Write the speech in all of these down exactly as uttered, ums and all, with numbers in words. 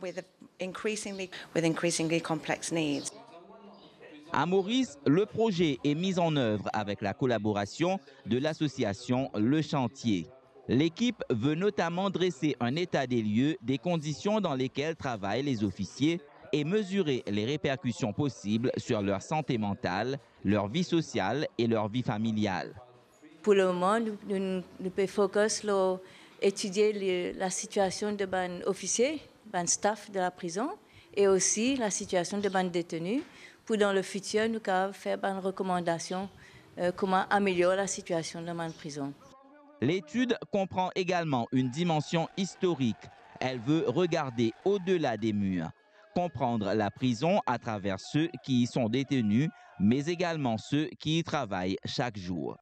With increasingly, with increasingly complex needs. À Maurice, le projet est mis en œuvre avec la collaboration de l'association Le Chantier. L'équipe veut notamment dresser un état des lieux des conditions dans lesquelles travaillent les officiers et mesurer les répercussions possibles sur leur santé mentale, leur vie sociale et leur vie familiale. Pou lemoman, nou, nou, nou pe fokus lor etidie le, lasitiasion de bann ofisie, bann staff de laprizon, e osi lasitiasion de bann deteni, pou dan lefitir nou kapav fer bann rekomandasion, eh, kouma amelior lasitiasion dan bann prizon. L'étude comprend également une dimension historique. Elle veut regarder au-delà des murs, comprendre la prison à travers ceux qui y sont détenus, mais également ceux qui y travaillent chaque jour.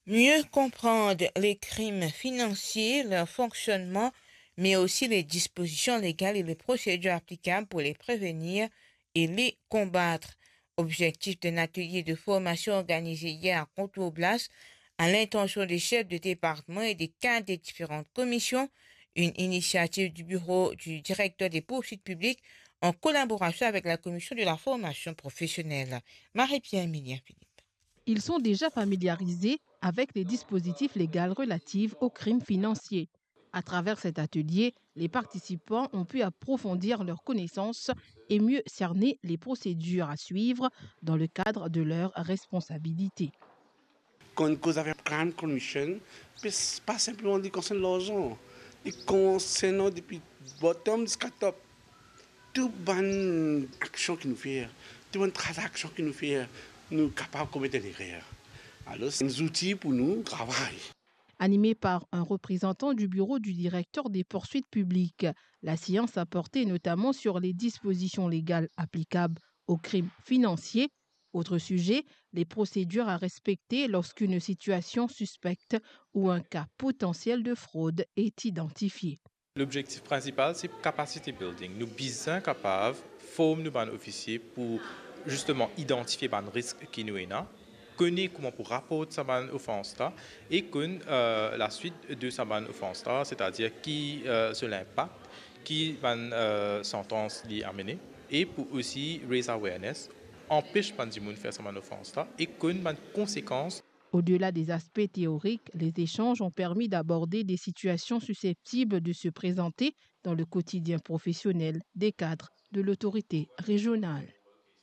Mieux comprendre les crimes financiers, leur fonctionnement, mais aussi les dispositions légales et les procédures applicables pour les prévenir et les combattre. Objectif d'un atelier de formation organisé hier à Contour Blas à l'intention des chefs de département et des cadres des différentes commissions, une initiative du bureau du directeur des poursuites publiques en collaboration avec la commission de la formation professionnelle. Marie-Pierre Emilien Philippe. Ils sont déjà familiarisés avec les dispositifs légaux relatifs aux crimes financiers. À travers cet atelier, les participants ont pu approfondir leurs connaissances et mieux cerner les procédures à suivre dans le cadre de leurs responsabilités. Kan nou koz avek Crime Commission, pe s-, pa sinpleman li konsern larzan, li konsern depi bottom ziska top. Tou bann aksion ki nou fer, tou bann tranzaksion ki nou fer, nou kapav komet enn erer. Alor, se enn zouti pou nou travay. Animé par un représentant du bureau du directeur des poursuites publiques, la séance a porté notamment sur les dispositions légales applicables aux crimes financiers. Autre sujet, les procédures à respecter lorsqu'une situation suspecte ou un cas potentiel de fraude est identifié. Lobzektif prinsipal se capacity building. Nou bizin kapav form nou bann ofisie pou zisteman idantifie bann risk ki nou ena, kone kouma pou raport sa bann ofans la e konn, eh, laswit de sa bann ofans la, setadir ki, eh, so linpak, ki bann, eh, santans li amene, e pou osi raise awareness, anpes bann dimoun fer sa bann ofans la e konn bann konsekans. Au-delà des aspects théoriques, les échanges ont permis d'aborder des situations susceptibles de se présenter dans le quotidien professionnel des cadres de l'autorité régionale.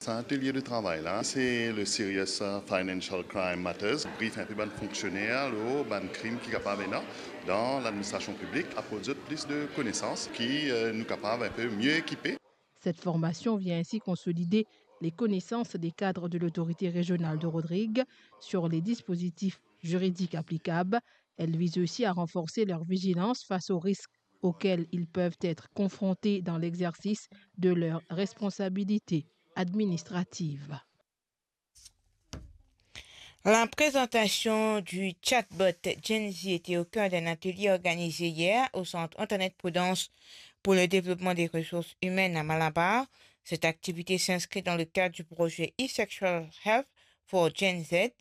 Sa atelie de travay la, se le Serious Financial Crime Matters. Brief inpe bann fonksioner lor bann krim ki kapav ena dan ladministrasion piblik, aport zot plis de konesans ki, eh, nou kapav inpe mie ekipe. Cette formation vient ainsi consolider les connaissances des cadres de l'autorité régionale de Rodrigues sur les dispositifs juridiques applicables. Elle vise aussi à renforcer leur vigilance face aux risques auxquels ils peuvent être confrontés dans l'exercice de leurs responsabilités administratives. La présentation du chatbot Gen Z était au cœur d'un atelier organisé hier au centre Antoinette Prudence pour le développement des ressources humaines à Malabar. Cette activité s'inscrit dans le cadre du projet E-Sexual Health for Gen Z,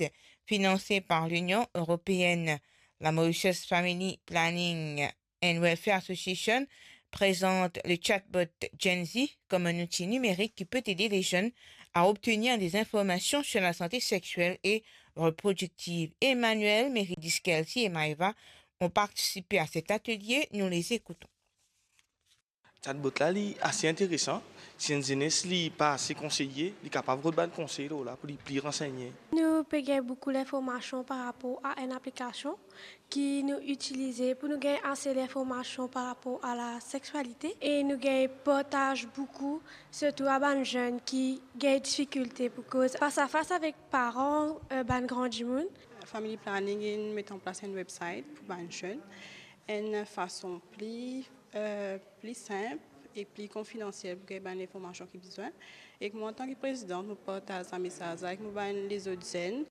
financé par l'Union européenne. La Mauritius Family Planning and Welfare Association présente le chatbot Gen Z comme un outil numérique qui peut aider les jeunes à obtenir des informations sur la santé sexuelle et reproductive. Emmanuel, Meridis, Kelsey et Maëva ont participé à cet atelier. Nous les écoutons. Chatbot la, li ase interesan. Si enn zenes li pa ase konseye, li kapav rod bann konsey lor la pou li pli ransegne. Nou pe gagn boukou linformasion par rapor a enn aplikasion ki nou itilize pou nou gagn ase linformasion par rapor a la sexualité e nou gagn partaz boukou, sirtou a bann zenn ki gagn difikilte pou koz fas a fas avek paran, eh, bann gran dimoun. Family Planning inn met an plas enn website pou bann zenn, enn fason pli, eh, pli sinp e pli konfidansiel pou gagn bann linformasion ki bizin. Ek mwa, antan ki prezidan, mo partaz sa mesaz la ek mo bann lezot zenn.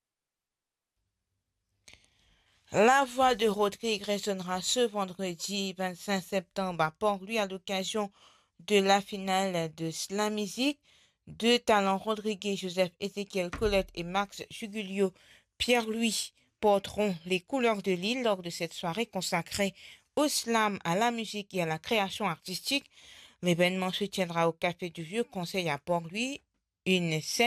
La Voix de Rodrigues résonnera ce vendredi vingt-cinq septembre à Port-Louis à l'occasion de la finale de Slam Music. Deux talents rodriguais, Joseph Ézéchiel Colette et Max Jugulio Pierre-Louis, porteront les couleurs de l'île lors de cette soirée consacrée au slam, à la musique et à la création artistique. L'événement se tiendra au Café du Vieux Conseil à Port-Louis, une scène